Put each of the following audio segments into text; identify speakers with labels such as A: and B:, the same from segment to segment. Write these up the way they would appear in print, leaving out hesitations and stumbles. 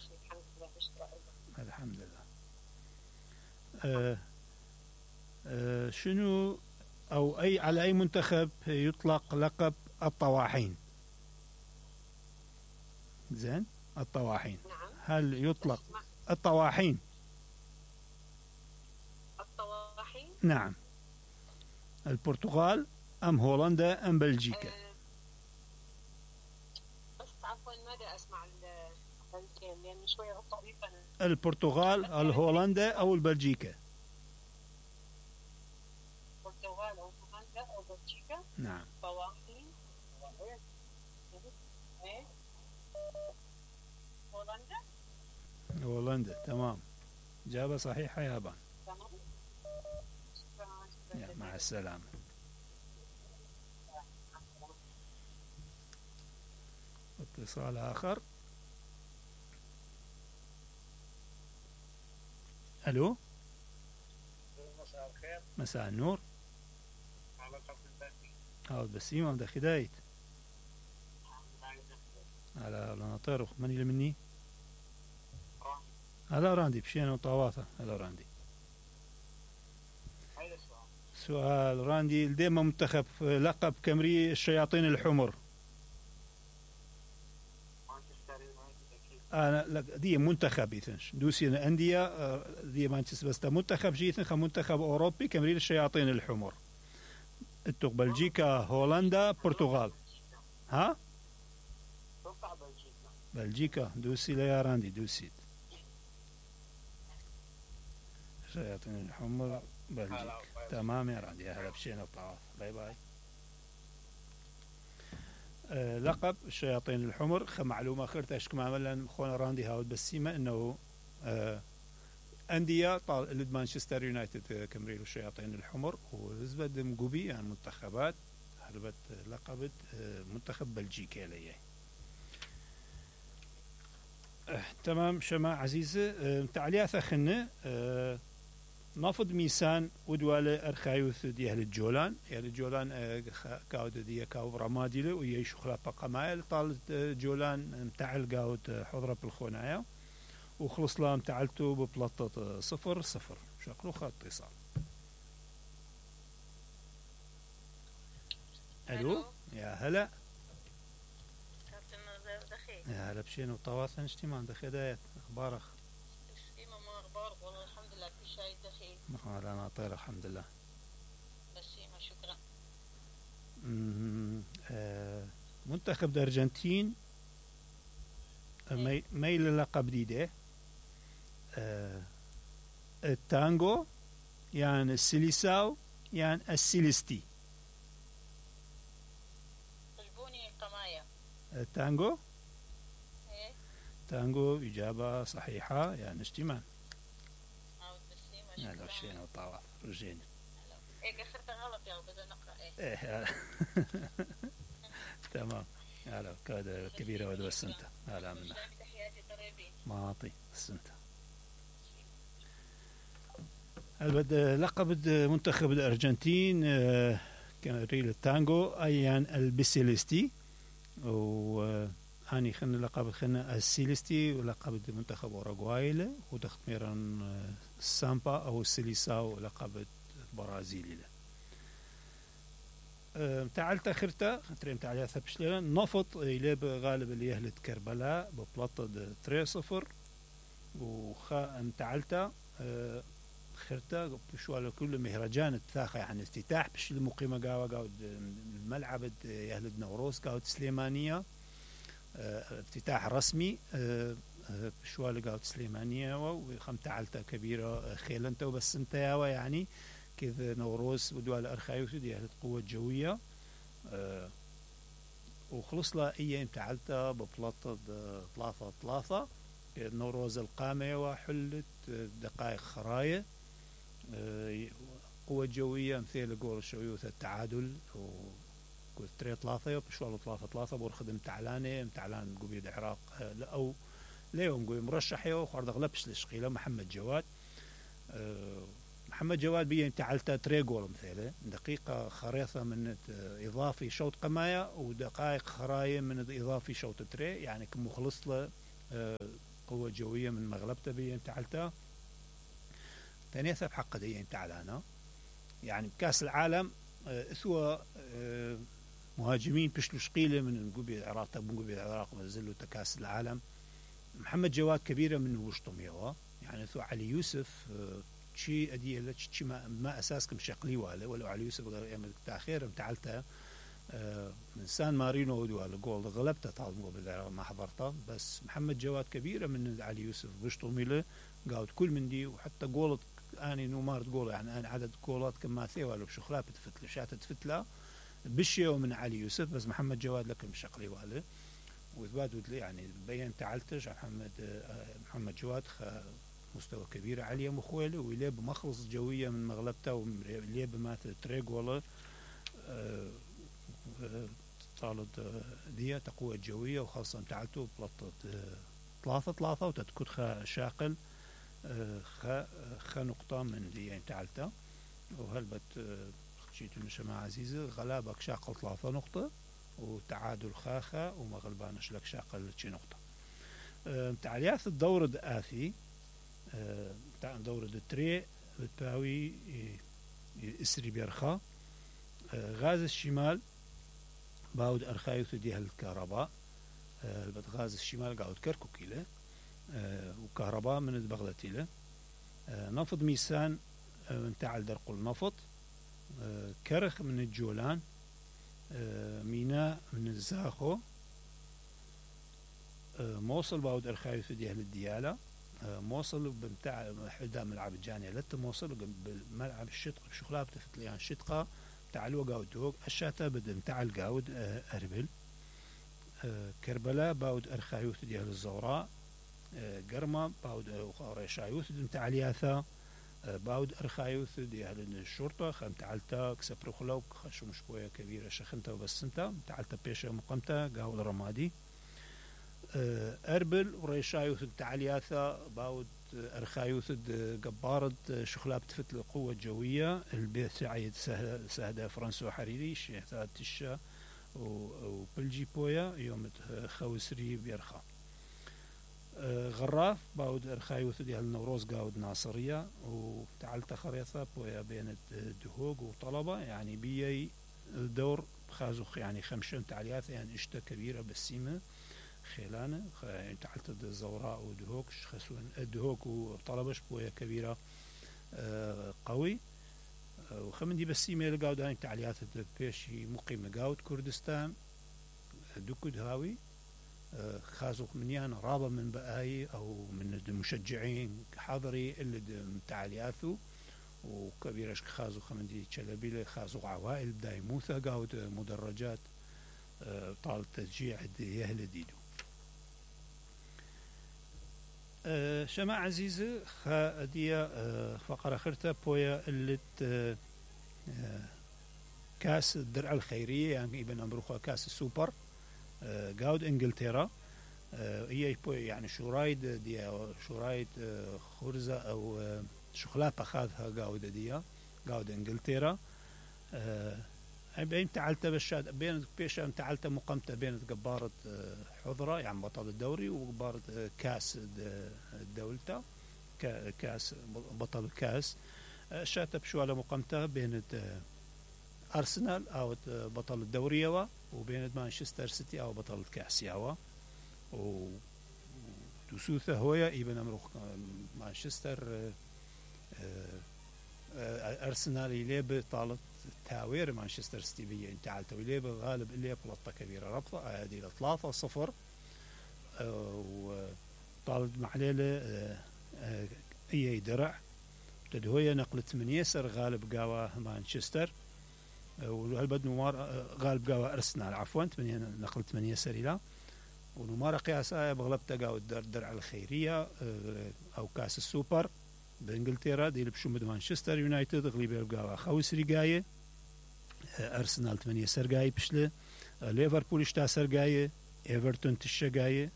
A: ماشي الحمد لله. نشكر الله.
B: الحمد لله. شنو أو على أي منتخب يطلق لقب الطواحين؟ زين، الطواحين.
A: نعم.
B: هل يطلق الطواحين؟
A: الطواحين.
B: نعم. البرتغال أم هولندا أم بلجيكا؟
A: بس عفوا ماذا أسمع البلجيكا لأن شوية طريقة.
B: البرتغال، الهولندا أو البلجيكا؟
A: البرتغال أو هولندا أو بلجيكا.
B: نعم.
A: طواحين. هولندا.
B: هولندا. تمام، إجابة صحيحة يا بان.
A: تمام.
B: مع السلامة. اتصال آخر. ألو.
C: مساء الخير.
B: مساء النور.
C: على قصد البسيم.
B: هاود بسيم أو خدايت. على ناطر من اللي مني؟ هلا راندي بشينا وطواثة. هلا راندي. سؤال راندي، ديما منتخب لقب كامري الشياطين الحمر. أنا لك دي منتخب يثنش دوسي أندية دي مانشستر بس منتخب جيثن منتخب أوروبي كامري الشياطين الحمر. التوق بلجيكا، هولندا، برتغال. ها؟ بلجيكا. دوسي ليا راندي دوسي. الشياطين الحمر بلجيكا. تمام يا راندي. هلا بشينا وطواف. باي باي. لقب الشياطين الحمر معلومة خيرت أشكم عملا خونا راندي هاود بسيمة إنه أندية لد مانشستر يونايتد كمريل الشياطين الحمر وزبد مقوبي يعني منتخبات هربت لقبت منتخب بلجيكا ليه. تمام شما عزيزة. تعلياثة خنة نافض ميسان ودوالة أرخايوث دي أهل الجولان. أهل الجولان كاود دي كاو رماديله ويشو خلافة قمايل طالت جولان متعل قاود حضرة بالخونايا وخلص لها متعلتو ببلطة 0-0. شكله خط اتصال. ألو. يا هلا. يا هلا بشين وطواثن اشتمان دخيدات أخبارك؟
A: ما أخبارك والله الحمد لله كل شيء دخيل.
B: أنا طير الحمد لله.
A: بسيمة شكرا.
B: منتخب الأرجنتين ميل للقب جديدة. التانجو يعني السيليساو يعني السيليستي.
A: طلبوني قماية.
B: التانجو.
A: ايه
B: تانجو. إجابة صحيحة يعني اشتمان.
A: لا
B: رجينا وطواف رجينا.
A: ايه اخرت غلط يا بدنا نقرأ
B: ايه تمام. هلا كذا كبيرة ودو السنتة. هلا منا معاطي السنتة. لقب منتخب الأرجنتين كان ريل التانجو أيان البيسيليستي وهاني خلنا لقب خلنا السيليستي ولقب منتخب أوروغواي ودخت ميران السامبا أو السيليساو لقب برازيلي له. تعال تاخرتا تريم تعال ثبش لنا نفط إلى غالب اللي يهلت كربلاء ببلاطة 3-0 وخا تعالتا خرتا بشو على كل مهرجان الثاخة يعني افتتاح بش المقيمة قاود الملعب يهلد نوروز قاود سليمانية افتتاح رسمي بشوال قاود سليمانية وخم تعالتا كبيرة خيلنتا وبس انت يعني كذا نوروز ودوال أرخايوث دي أهل قوة جوية وخلص لا أيام تعالتا ببلاطة 3-3 نوروز القامة وحلت دقائق خراية قوة جوية مثل قول شويوث التعادل وقول 3-3 بشوال 3-3 بورخد متعلان قبيد عراق أو ليوم قوي مرشح يو خارد غلبش لشقيلة محمد جواد محمد جواد بيجي تعالتا 3 جول مثلا دقيقة خريطة من إضافي شوط قماية ودقائق خراية من إضافي شوط 3 يعني كم خلص له قوة جوية من مغلبته بين تعلتا تانيثا بحق دي تعلانا يعني بكاس العالم اثوى مهاجمين بشلوش قيلة من نقوبي العراق تبون العراق ونزلوا تكاس العالم محمد جواد كبيرة منه وشطم يوا يعني اثوى علي يوسف شي اديه لك شي ما اساسكم شقلي واله ولو علي يوسف غير تاخير متعلته من سان مارينو ودوال جول غلبته طال ما حضرته بس محمد جواد كبيره من علي يوسف بشطمي له قاعد كل من دي وحتى جولت اني نمارت جول يعني انا عدد جولات كما ثيوا له بشخلات تفتله شات تفتله بشيو من علي يوسف بس محمد جواد لكم شقلي واله وإثبات يعني بين تعلتش محمد جواد مستوى كبير عالية مخويله ويلعب مخلص جوية من مغلبته ويلعب ماثل تريق ولا طالت دي تقوى جوية وخاصة تعلته بلطة ثلاثة وتتكد شاقل نقطة من دي يعني تعلته وهلبت شيت مع عزيزة غلابك شاقل 3 نقطة وتعادل خاخة ومغلبانش لك شاقل شي نقطة تعليات الدور الآثي دورة التري بتاوي إسري بيرخا غاز الشمال باود أرخايث ديها الكهرباء غاز الشمال قاعد كركو كيله وكهرباء من البغلتي له نفض ميسان من تعال درق النفط كرخ من الجولان ميناء من الزاخو موصل باود أرخايث ديها الديالة موصل بمتاع حدا ملعب الجانية لت موصل بملعب الشتق بشخلاب تفتليان شتقة تعالوا قاود دوق الشاتا بد متاع القاود أربل كربلاء باود أرخايوث ديال الزوراء قرمة باود ريشايوث متاع الياثا باود أرخايوث ديال الشرطة خمتعلتا كسبرو خلوك خشو مشكوية كبيرة شخنتا وبس انتا متعلتا بيشا مقامتا قاود رمادي أربل وريشايوث التعلياثة باود أرخايوث قبارد شخلاب تفت القوة الجوية البيت سعيد سهدة فرنسو حريري شيخات تشا وبلجي بويا يوم خوسري بيرخا غراف باود أرخايوث ديال النوروز قاود ناصرية وتعلت خريطة بويا بين الدهوق وطلبة يعني بيي الدور خازوخ يعني 5 تعلياثة يعني اشتا كبيرة بالسيمة خيلانه تعلت الزوراء ودهوك خسون الدهوك وطلبش بويا كبيرة قوي وخمن دي بس ايميل قاود هاي تعليات بيشي مقيم قاود كردستان دوكد هاوي خازوق منيان رابة من بقاي او من المشجعين حاضري اللي تعلياته وكبيرش خازوق خمن دي تشلبيله خازوق عوائل بداي موثى قاود مدرجات طال تشجيع يهل ديدو شماع عزيزة خادية فقرة خرطة بويا اللي كاس الدرع الخيرية يعني ابن أمروخا كاس السوبر قاود انجلترا هي يعني شورايد دي شورايد خرزة أو شخلابة خاذها قاود دي قاود انجلترا بين تعلت بالشاد بين بيشا تعلت مقامته بين قبارة حضرة يعني بطل الدوري وقبارة كاس الدولة كاس بطل الكاس شات بشواله مقامته بين أرسنال أو بطل الدوري يوا وبين مانشستر سيتي أو بطل الكاس يوا وتسوثه هويا ابن أمروخ مانشستر أرسنال يلعب طالت تاوير مانشستر سيتي بيه تعالت ويلعب غالب اللي بلطة كبيرة ربطة هذه 3-0 وطالت محليلة اي درع تدهوية نقلت من يسر غالب قاوة مانشستر وهالبد نمار غالب قاوة أرسنال عفوا نقلت من يسر إلى ونمار قياسها بغلبت قاوة الدرع الخيرية أو كاس السوبر بإنجلترا دي بشومد مانشستر يونايتد غليب يبقى خوسري جاية أرسنال 8 سرقاية بشله ليفربول 6 سرقاية إيفرتون 9 جاية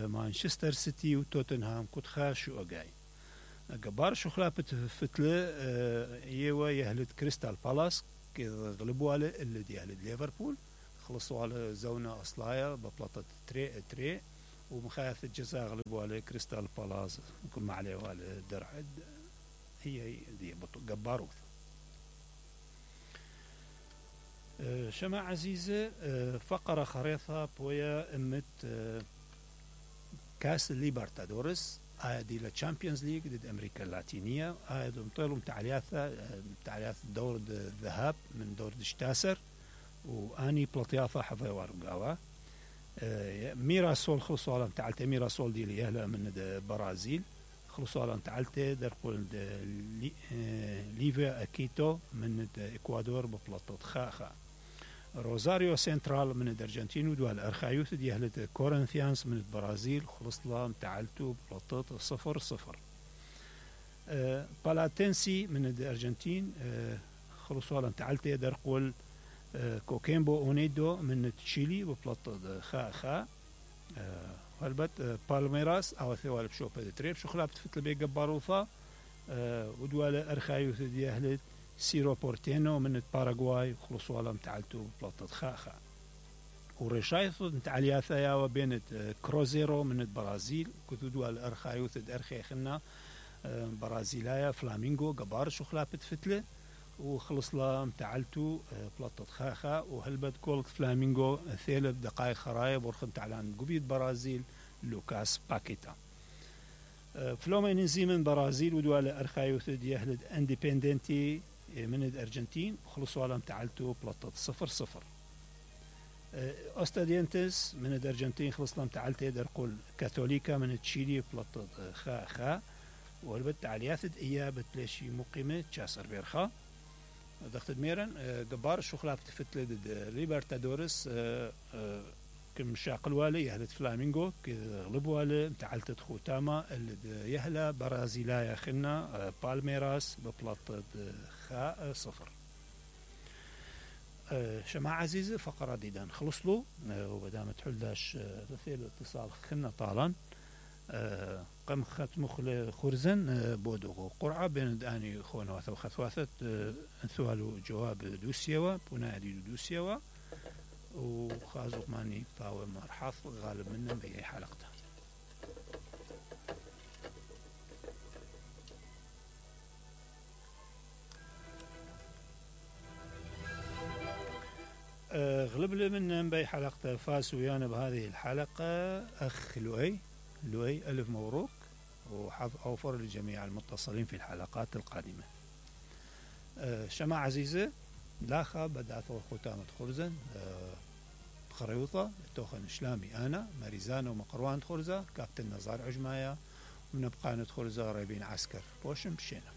B: مانشستر سيتي وتوتنهام كنت خاشوا جاي جبار شو خلافة فتلة يوا يهلد كريستال بالاس كذا غلبوا على اللي يهلد ليفربول خلصوا على زونة أصلايا ببلاطة تري ومخايف الجزاء غلبوا على كريستال بالاس يكون ما عليه على درع هي دي جباروث. شما عزيزة فقرة خريطة بويا امت كاس ليبرتادورس دي للتشامبيونز ليج ضد امريكا اللاتينية. مطيلهم تعليات دور الذهاب من دور الشتاسر واني بلطياثة حظي وارقاوة. ميراسول خلصوا على تعالته ميراسول دي ليهلا من البرازيل خلصوا على تعالته درقول ليفيا اكيتو من الاكوادور ببلطة خاخا. روزاريو سنترال من الارجنتين ودوال ارخايوث دي اهلت كورنثيانز من البرازيل خلص لها تعالتو ببلطة 0-0. بالاتنسي من الارجنتين خلصوا على تعالته درقول كوكيمبو اونيدو من تشيلي ببلطة خا هلبت بالميراس او ثوالب شوبة تريب شو خلابت فتل بي جباروثا ودوالا ارخايوث دي اهلت سيرو بورتينو من باراغواي خلصوا على متعلتو ببلطة خاخا. ورشايث متعلياثا يا وبين كروزيرو من البرازيل كتو دوالا ارخايوث ارخيخنا برازيلايا فلامينغو جبار شو خلابت فتله وخلص لا متعلتو بلطة خاخا وهلبت كولت فلامينغو 3 دقائق خرايب ورخم تعلان قبيد برازيل لوكاس باكيتا. فلومينيزي من برازيل ودوالا ارخايوث دي اهلد انديبندنتي من الارجنتين خلصوا على متعلتو بلطة 0-0. اوستادينتس من الارجنتين خلص لهم تعالته درقول كاثوليكا من تشيلي بلطة خا والبت تعليات اياب تلاشي مقيمة تشاسر بيرخا دخت ميرن جبار شو خلاف تفتل ليبرتادورس كم شاقل والي يهلت فلامينغو غلبوا على تعالت خوتاما اللي يهلا برازيلايا خنا بالميراس ببلطة خا 0. شماعة عزيزة فقرة ديدان خلص له وبدامت حلداش رثيل اتصال خنا طالان قم ختم خرزن بودو قرعة بين داني خونا وخثواثت انثوالو جواب دوسيوا بنادي دوسيوا وخازق ماني باو مرحاف غالب منا بأي حلقته. غلب لي من بأي حلقته فاز ويانا بهذه الحلقة أخ لؤي ألف مبروك وحظ أوفر لجميع المتصلين في الحلقات القادمة. شماعة عزيزة لاخا بدأت ختامة خرزن خريوطة توخن إسلامي أنا ماريزانو مقروان خرزة كابتن نزار عجمايا ونبقى ندخل زاربين عسكر بوشم بشينا.